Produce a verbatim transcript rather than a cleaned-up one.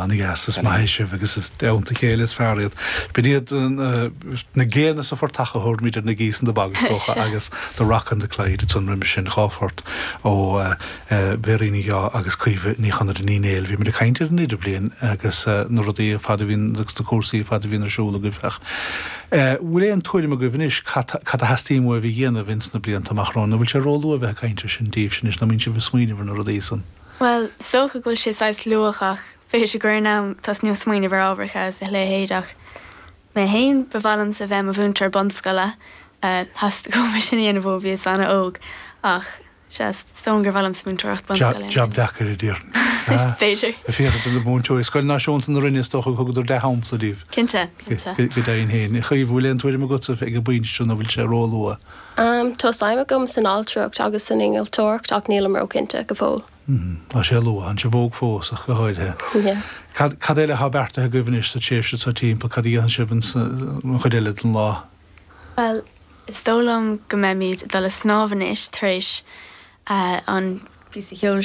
An-dheas is maith sibh agus is deonta chéile is fearr iad. B'in iad na géanna sa phortach a thabharfaimid ar na Geese in the Bog is dócha agus The Rock on the Clyde ansan roimhe sin dhá phort ó Mhéirín Ní Dheá agus Caoimhe Ní Chonaire Ní Néill. Bhí muid ag caint ar an idirbhliain agus na rudaí ar fad a bhíonn agus na cúrsaí ar fad a bhíonn ar siúl agaibh ach bhfuil aon tuairim agaibh anois cad a theastaíonn uaibh a dhéanamh ins na blianta amach romhainn, nó bhfuil sé róluath a bheith ag caint ar sin daoibhse anois nó mbíonn sibh ag smaoineamh ar na rudaí san? Well, is dócha go bhfuil sé saghas luath ach b'fhéidir gur in am tosnú ag smaoineamh ar ábharacha agus a leithéid ach mé féin ba mhaith liomsa bheith i mo mhúinteoir bunscoile theastaigh uaim sin a dhéanamh ó bhíos an-óg ach sea is dóigh gur mhaith liomsa múinteoireacht bunscoile. Jab deacair a déarfainn. B'fhéidir. Féachaint ar na múinteoirí Scoil Náisiúnta na Rinne is dócha thugadar dea-shampla díobh. Cinnte, cinnte. Go deimhin féin. A Chaoimhe, bhfuil aon tuairim agatsa ag an bpointe seo nó bhfuil sé róluath? Um, tá suim agam san ailtireacht agus san innealtóireacht ach nílim róchinnte go fóill. Tá sé luath tá sibh óg fós ach go háirithe. Yeah. Cad cad eile atá beartaithe agaibh anois sa tréimhse seo timpeall cad a dhéanann sibh an chuid eile den lá? Well, is dóigh liom go mbeimid ag dul ag snámh anois tar éis uh, an píosa ceoil